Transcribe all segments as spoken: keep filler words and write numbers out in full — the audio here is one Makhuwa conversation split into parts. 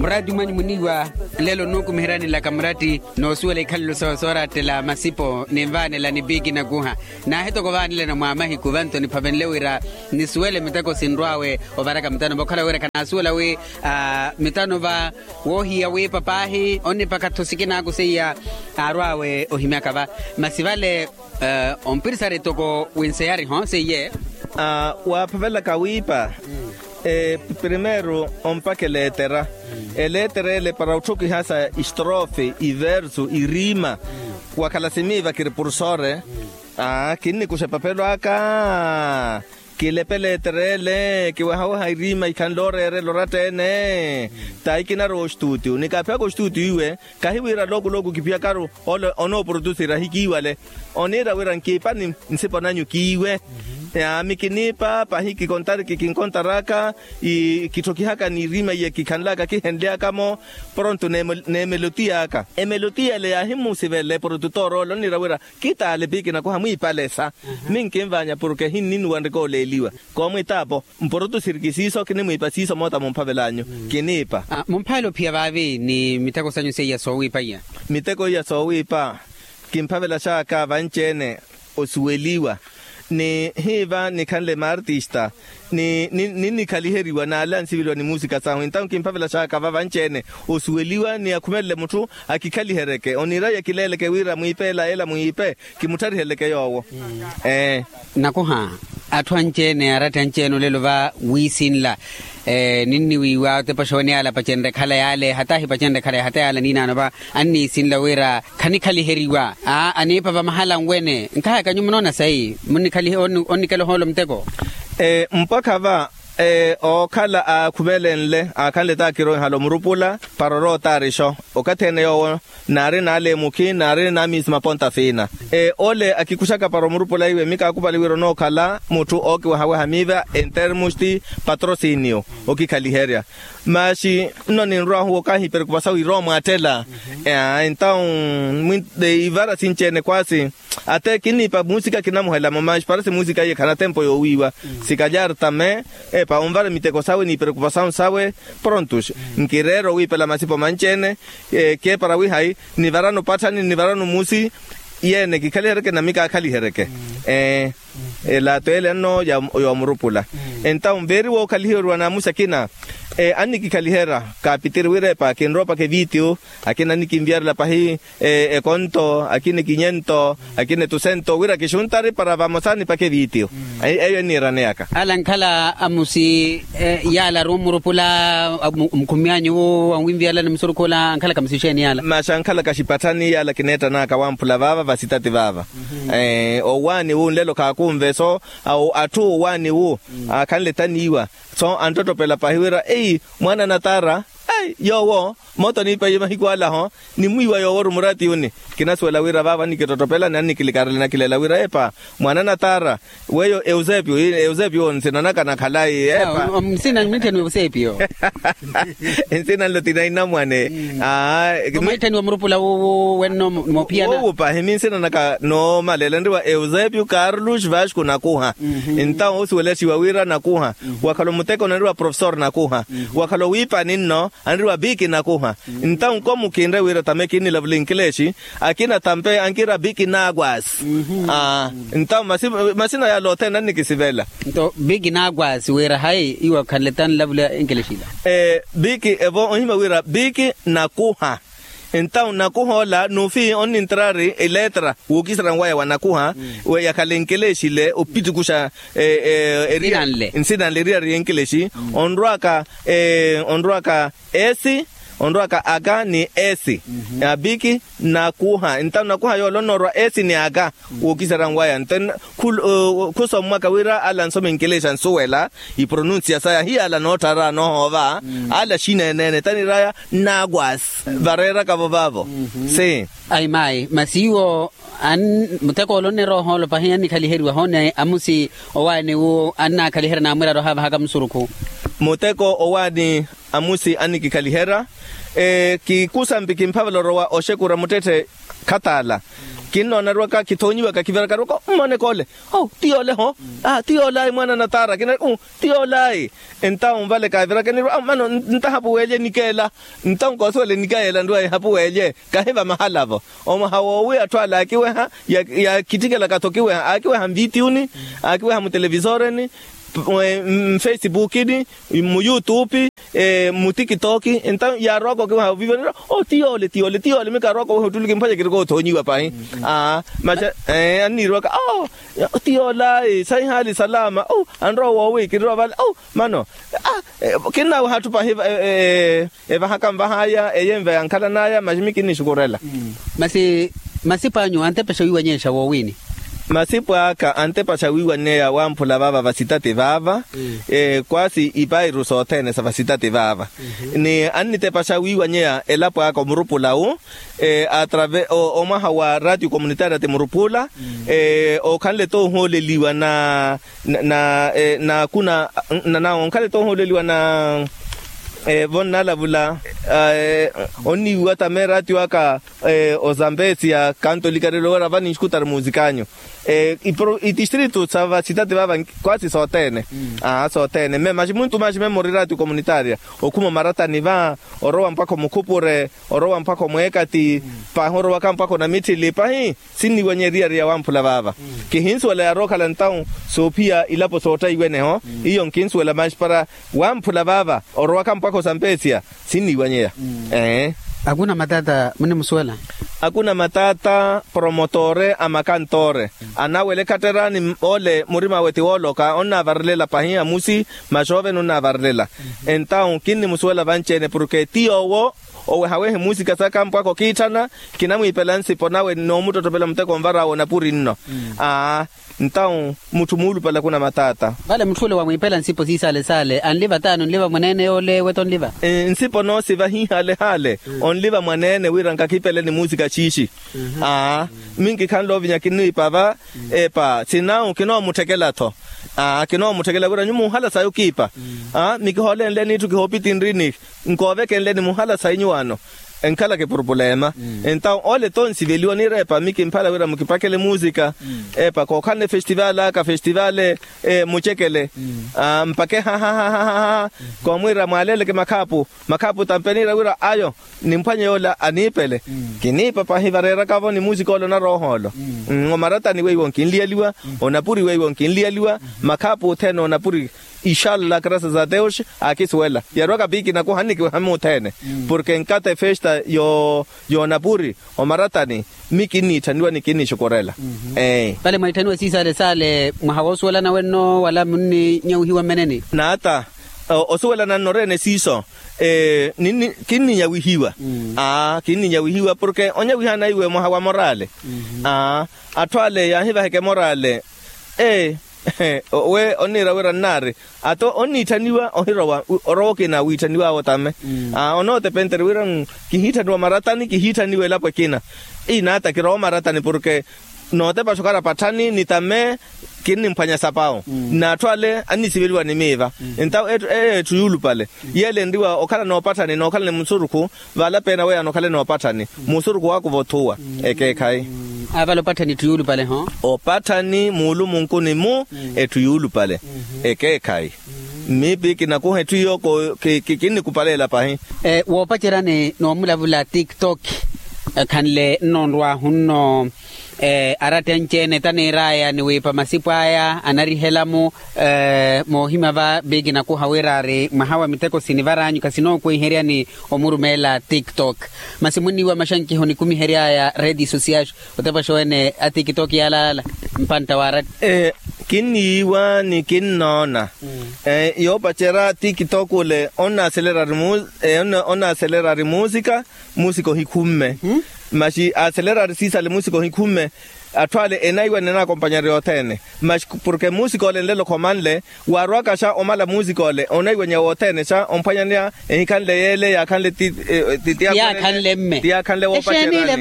Muratti mwanyu muniiwa, lelo nnukumiheryani nlaka muratti, noosuwela ikhalelo sooraattela masipo ninvaanela ni piiki nakuha. Naahi toko vaanelana mwa mahiku vanto niphavenle wira nisuwele miteko sinrw'awe ovaraka mitano va okhala wira khanaasuwela wi mitano va woohiya wiipa paahi onnipakha-tho sikinaku seiya aarw'awe ohimyaka va. Masi vale ompirisari toko winseyari-ho seiye. Waaphavelaka wiipa. Primeiro ompakha eleetera. Eleetera ele para otthokihasa istrofe iversu irima. Wakhala simiiva kiri pursore. Kinnikuxa epapelo aka. Kilepe eleetera ele kiwehaweha irima ikhanle ooreerela oratta-ene. Tahi kinarowa ostuutiyo ni kaaphiyaka ostuutiyo iwe. Kahi wira looku looku kiphiyakaru ole onooprotusira ahikiiwale. Oniira wira nkiipani nsipo nanyu kiiwe. Yaami kiniipa pahi kikontariki kinkontaraka. Kitthokihaka n'irima iye kikhanlaka kihenly'aka-mo. Pronto n'emelotiya aka emelotiya ele yaahimusivela eprotutooro ole oniira wira kitaale piiki nakuha mwiipalesa. Minkinvaanya porke hinninuwanrika oleeliwa. Koomwitaapo mprotusiriki siiso kinimwiipa siiso moota mumphavel'anyu. Kiniipa. Mumphavela ophiya vaavi ni miteko sanyu seiya soowiipa iya. Miteko iya soowiipa kimphavelax'aka vanci-ene osuweliwa ni hiiva nikhanle maartista ni ninnikhaliheriwa n'ale ansiveliwa ni muusika sahu entawu kimphavelax'aka va vanci-ene osuweliwa ni akhumelele mutthu akikhaliheryeke oniira yakileeleke wira mwiipe ela ela mwiipe. Kimuttharihelyeke yoowo. Nakuha atthu anci-ene aratti anci-ene olelo va wiisinla. Ninniwiiwa otepa oxowene yaala apacenrye ekhala yaale hata ahipacenrye ekhala ya hata yaala niinaano va anniisinla wira khanikhaliheryiwa. Aa aniipa va mahala anwene nkahaka nyuwo munoona sayi. Onnikela ohoolo muteko. Mpakha va ookhala aakhuvelenle aakhanle taakiroihala omurupula para orootaarixo okathi ene yoowo naari n'ale emukhi naari n'amiisi maponta fiina. Ole akikuxaka para omurupula iwe mikaakupali wira onookhala mutthu ookiwehaweha miiva entermusti patrosinio okikhaliherya. Maxi nno ninrw'ahu okahiperekupa sawe iroomo attela. Entawu ivara sinci-ene kwaasi ate kinniipa muusika kinamuhelamo maxi parasi muusika iye khana tempo yoowiiwa. Sikalyari tame epa onvara miteko sawe n'iperekupasawu sawe. Prontos nkireera owiipela masipo manci-ene. Keepara wihayi nivarano patthani nivarano musi. Yeene kikhaliheryeke nami kaakhaliheryeke. Elato ele nno yoomurupula. Entawu veeri wookhaliheryiwa n'amusi akina annikikhaliherya kaapitiri wira epa kinroopaka evitiyo. Akina annikinviyarela pahi ekonto akina ekinyento akina etusento wira kixuntari para vamosa nipaka evitiyo. Eyo enniiraneyaka. Ala ankhala amusi yaala ari omurupula omukhumiyanyu wu wanwinviyarela ni musurukhu ola ankhalaka amusi exeeni yaala? Maxi ankhalaka axipatthani yaala kineettan'aka wamphula vaava vasitati vaava. Owaani wu nlelo khaakunve so atthu owaani wu aakhanle taniiwa. So anttottopela pahi wira eyi mwaana natara. Yoowo moota oniipaiye mahiku ala-ho nimwiiwa yoowo ori murati yuni. Kinasuwela wira vaavo annikittottopela ni annikilikarela nakileela wira epa mwaana natara. Weyo eusepio eusepio nsinanaka nakhalayi epa. Nsina nlo tinainamwane. Mwaitthaniwa murupula wuuwu wenno moophiyana. Wuuwu pahi minsinanaka noomaleela enriwa eusepio carlos vasco nakuha. Entawu osuwelexiwa wira nakuha wakhala omuteko nanriwa profesor nakuha. Wakhala owiipani nno anriwa piki nakuha. Entawu nkomukinre wira tame kinnilavula inkilexi akina tampe ankiira piki nakwasi. Entawu masina yala othene annikisivela. Nto piki nakwasi wira hayi iwo akhanle tanlavula inkilexi ila. Piki evo onhima wira piki nakuha. Entawu nakuha ola nufi onnintrari eletra wookisera nwaya wa nakuha. Yakhale nkelexile opitikuxa nsina nle eriyari yenkelexi. Onrwaka onrwaka esi onrwaka aka ni esi. Apiki nakuha entawu nakuha yoola onoorwa esi ni aka. Wookisera nwaya nto khusommwaka wira ala ansoma enkelexa ansuwela ipronunsiya saya hiyala nootthara noohoova. Ala xineene-ene taniraya nnakwasi vareeraka-vo vaavo. Si ayi mayi masi iwo muteko ole onneroha olopa hiya annikhaliheriwa hoone amusi owaani wu annakhaliherya naamwira ari ohaavahaka musurukhu. Muteko owaani amusi annikikhaliherya. Kikusampi kimphavela orowa oxekura muttetthe khataala. Kinnoonariwaka kithoonyiwaka kiviraka ariwaka mmone kole. Ti yole ho. Ti yole ayi mwaana natara kinari ti yole ayi. Entawu vale kaaviraka nirwa mano ntahapu weelye nikeela. Ntawu nkoosi wale nikeela nrwa ehapu weelye. Kahiva mahala-vo. Omwaha woowi atthu ale aakiweha. Yaakittikelaka-tho okiweha aakiweha mvitiyuni. Aakiweha mutelevisoreni. Mfesipukini. Muyutupi. Mutikitok. Entawu yaarowaka okiweha ovivo nirwa ti yole ti yole ti yole mikaarowaka oweha ottuluki mphwanya kirikoothonyiwa pahi. Aa. Maxa anniiriwaka ti yola. Saihaali salama. Anrowa woowi kinrowa vale. Mano kinnaweha atthu pahi. Evahaka nvahaya eyenva yankhalanaya maximi kinnixukurela. Masi masipo anyu antepexa wiiwanyexa woowini? Masipo aka antepexa wiiwanyeya wamphula vaava vasitati vaava. Kwaasi ipairu sothene sa vasitati vaava. Ni annitepexa wiiwanyeya elapo aka omurupula wu. Atrave omwaha wa ratio communitaria ti murupula. Okhanle toohooleliwa na na na na kuna na na onkhala etoohooleliwa na vo nnalavula. Onniiwa tame ratio aka ozambesia kanto likarelo wera vani nxikutari musikanyu. Itistritu sa vasitati vava kwasi sothene. Aa sothene mme maxi muntu maxi mme muri ratio communitaria okhuma omaratani va orowa mpakha omukhupure orowa mpakha omweekati. Pahi orowaka mpakha onamitthili pahi. Sinniiwanya eriyari ya wamphula vaava. Kihinsuwela yaarookhala ntawu soophiya ilapo soottaiwene-ho. Iyo nkinsuwela maxi para wamphula vaava orowaka mpakha osampesiya. Sinniiwanyeya. Akuna matata munimusuwela? Akuna matata promotore a makantoore anawela ekhatterani ole murima awe ti wooloka onnavarelela pahi amusi maxoovene onnavarelela. Entawu kinnimusuwela vanci-ene porke ti yoowo owehawehe muusika saka mpwakha okiitthana. Kinamwiipela nsipo nawe noomuttottopela muteko onvar'awe onapuri nno. Aa ntawu mutthu muulupale akuna matata. Vale mutthu ole wamwiipela nsipo siisaale saale anliva taani onliva mwaneene yoole eweto onliva? Nsipo noosiva hiihaale haale onliva mwaneene wira nkakhipele ni muusika xiixi. Aa minkikhanle ovinya kinniipa va epa sinawu kinoomutthekela-tho. Aa kinoomutthekela wira nyuwo muhala sayi okiipa. Aa mikiholenleni itthu kihoopitinrini nkoovekenleni muhala sayi nyuwo ano. Enkhalaka epurupulema. Entawu ole tonsi veliwa nirepa mikimphala wira mukipakele musika. Epa kookhalana efestival aka festival mucekele mpake hahahaha. Koomwira mwaaleleke makhaapu makhaapu tampe niira wira ayo nimphwanye yoola aniipele. Kiniipa pahi vareeraka-vo ni musika ole onaroha olo. Omaratani weiwo nkinliyaliwa onapuri weiwo nkinliyaliwa makhaapu othene onapuri. Ixalla graças a deus akisuwela yarowaka piikina kuhannikiweha muthene. Porke nkata efesta yoonapuri omaratani mmi kinniitthaniwa ni kinnixukurela. Vale mwaitthaniwa siisaale saale mwaha woosuwelana wenno wala munninyawihiwa mmeneni? Naata osuwelana nnoreene siiso. Kinninyawihiwa. Aa kinninyawihiwa porke onyawihana iwe mwaha wa morale. Aa atthu ale yaahivaheke morale. Ee we onniira wira nnaari ato onniitthaniwa ohirowa orowa okina wiitthaniw'awe otame. Aa onootepentere wira kihiitthaniwa maratani kihiitthaniwa elapo ekina. Inaata kirowa maratani porke nootepaxa okhala patthani ni tame kinnimphwanya sapawu. N'atthu ale annisiveliwa ni miiva. Entawo eyo etthu yuulupale yeele enriwa okhala noopatthani nookhala ni musurukhu. Vala peena weeyana okhale noopatthani musurukhu waakuva othuwa. Ekeekhayi. Avala opatthani etthu yuulupale-ho. Opatthani muulumunkuni-mu etthu yuulupale. Ekeekhayi. Mmiipi kinakuha etthu iyo kinnikupaleela pahi. Woopaceryani noomulavula tiktok ekhanle nno onrw'ahu-nno. Aratta anci-ene taniir'aya ni wiipa masipo aya anarihela-mu. Moohimya va piikinakuha wira ari mwaha wa miteko sinivar'anyu khasinookweiheryani omurumeela tiktok. Masi munniiwa maxankiho nikumihery'aya reeti sosiyaxo otepaxa oweene a tiktok yaalala mpantta wa aratta. Kinniiwa ni kinnoona yoopacerya tiktok ole onnaaselerari muusika. Muusika ohikhumme. Masi aaselerari siisale muusika ohikhumme. Atthu ale enaiwanya enaakompanyerya othene. Masi porke muusika ole nlelo khomanle waarowaka xa omala muusika ole onaiwanya wothene xa omphwanyaneya ehikhanle yeele yaakhanle ti yaakhanle mme ti yaakhanle woopacerya.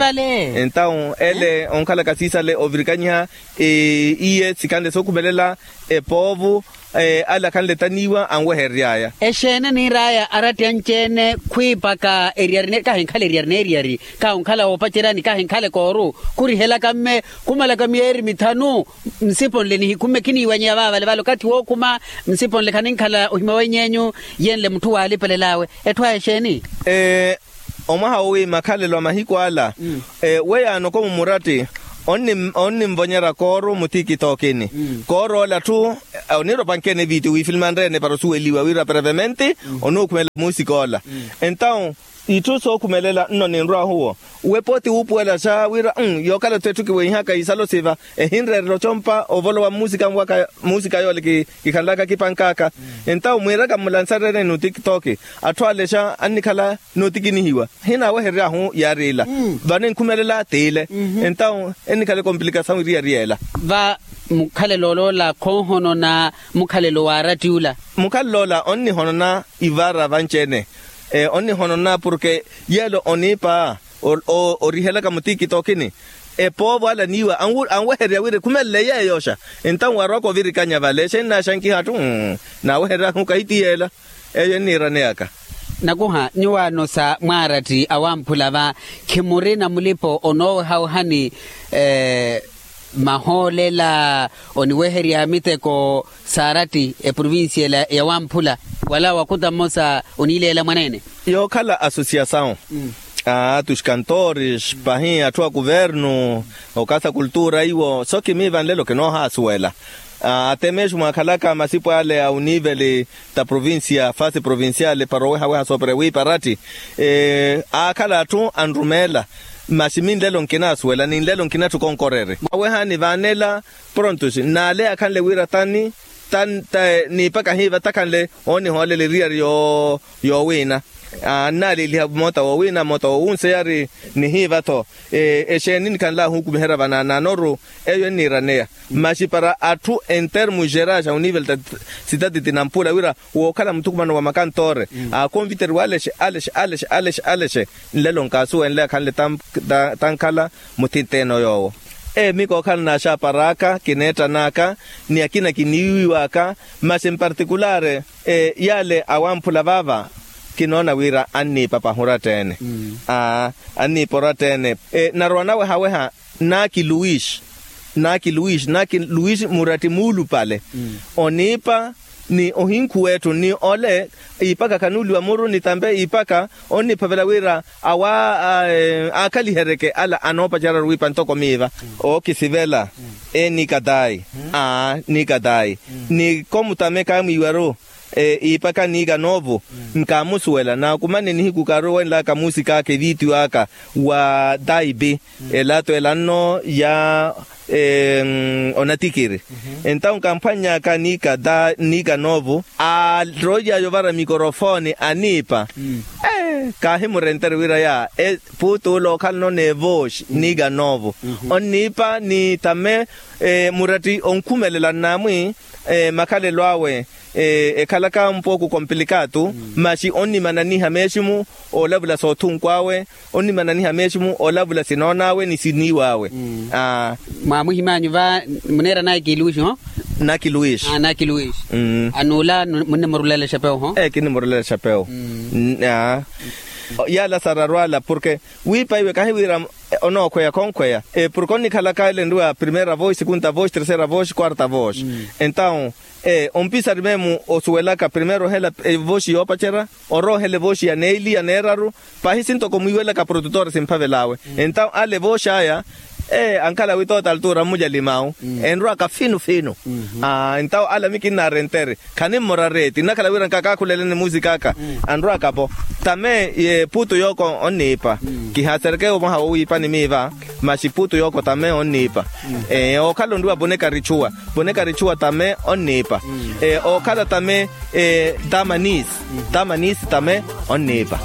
Entawu ele onkhalaka siisale ovirikanyiha iye sikhanle sookhumelela epoovu. Ale akhanle taniiwa anweherery'aya. Exeene niir'aya aratti anci-ene khwiipaka eriyari kahinkhala eriyari n'eriyari kahi onkhala woopacerya ni kahinkhala ekooru khurihelaka mme khumalaka miyeeri mithanu. Nsipo nle nihikhumme khiniiwanyeya vaavale vale okathi wookhuma. Nsipo nle khaninkhala ohima weny'enyu yenle mutthu waalipelel'awe. Etthu aya exeeni? Omwaha wowi makhalelo a mahiku ala. Weyaano ko mumuratti onninvonyerya kooru mutikitokini. Kooru ole atthu oniira opankene viitiyo wiifilimanre-ene para osuweliwa wira prevemente onookhumela muusika ola. Entawu itthu sookhumelela nno ninrw'ahu wo. We pooti wuupuwelaxa wira yookhala-tho etthu kiweihaka isalo siva ehinreerela ocompa ovolowa mmuusika yoola kikhanlaka kipank'aka. Entawu mwiiraka mmulansareene ni otikitoki atthu alexa annikhala nootikinihiwa. Hinaaweherery'ahu yaari ila vano enkhumelela t'ile. Entawu ennikhala ekomplikasawu eriyari y'ela. Va mukhalelo oloola khoohonona mukhalelo waaratti ula. Mukhalelo ola onnihonona ivaara vanci-ene. Onnihonona porke yeelo oniipa orihelaka mutikitokini epoovo ala niiwa anwehererya wira ekhumelele yeeyoxa. Entawu waarwaka ovirikanya vale exeeni naaxankiha atthu naaweherery'ahu kahi ti yeela. Eyo enniiraneyaka. Nakuha nyuwaano sa mwaaratti awamphula va khimurina mulipo onoowehawehani mahoolela oniweherya miteko saaratti eprovincia ela yawamphula wala wakuta mmosa oniileela mwaneene. Yookhala asosiyasawu a tus kantores pahi atthu a kuvernu okasa kultura iwo so khimiiva nlelo kinoohaasuwela. Atemeexu mwaakhalaka masipu ale a oniveli ta provincia fasi provinciale para owehaweha soopera wiipa aratti aakhala atthu anrumeela. Masi mi nlelo nkinaasuwela ni nlelo nkinatthu konkoreri mwawehani vaanela prontos n'ale akhanle wira tani tani niipa kahiiva takhanle oonihoolela eriyari yoowiina. Annaaleeliha moota woowiina moota woowunseyari nihiiva-tho. Exeeni nikhanl'ahu okumiherya vanaanaanoru eyo enniiraneya. Masi para atthu entermu gerais a oniveli ta sitati tinampula wira wookhala muthukumano wa makantoore aakonviteriwa alexe alexe alexe alexe alexe. Nlelo nkaasuwenle akhanle tankhala muthint'ene oyoowo. Ee mikookhala naaxapar'aka kineettan'aka ni akina kiniiwiw'aka. Masi mpartikulaari yaale awamphula vaava kinoona wira anniipa pahi oratta-ene. Anniipa oratta-ene narowa nawehaweha naaki luis naaki luis naaki luis muratti muulupale oniipa ni ohinkhuw'etthu ni ole iipaka khanuuliwa muru ni tampe iipaka onniphavela wira awa aakhaliheryeke ala anoopacerya-ru wiipa ntoko miiva ookisivela ee nikatayi aa nikatayi ni komutame kaamwiiwa-ru iipaka niika noovo nkaamusuwela naakumane nihiku kaaruwenlaka muusik'aka eviitiyo aka wa taipi elato ela nno ya onatikiri. Entawu nkamphwanny'aka niika noovo aaroily'aya ovara mikorofooni aniipa kaahimurentere wira ya puutu ula ookhalano n'evooxi niika noovo onniipa ni tame muratti onkhumelela nnaamwi makhalelo awe ekhalaka mpooku komplikatu masi onnimananiha meeximu oolavula soothunku awe onnimananiha meeximu oolavula sinoon'awe ni siniiw'awe. Mwaamuhimanyu va muneera naki luis ho naki luis naki luis anuula munnimurulela exepewu ho ee kinnimurulela exepewu yaala sararwala porke wiipa iwe kahiwira onookhweya khonkhweya porke onnikhalaka ele nriwa primeira voz segunda voz terceira voz quarta voz entawu ompisari memu osuwelaka primeiro ohela evoxi yoopacerya orowa ohela evoxi ya neeli ya neeraru pahi sintoko mwiiwelaka produtor simphavel'awe entawu ale evoxi aya ee ankhala witoota altura mmujalim'awu enrwaka finu finu entawu ale ami kinnaarenteri khanimmora reeti nnakhala wira nkakaakhuleleni musik'aka anrwaka-po tame puutu yooko onniipa kihaaserekeya omwaha wowiipa ni miiva masi puutu yooko tame onniipa ookhala onriwa bonekarichuwa bonekarichuwa tame onniipa ookhala tame tamanis tamanis tame onniipa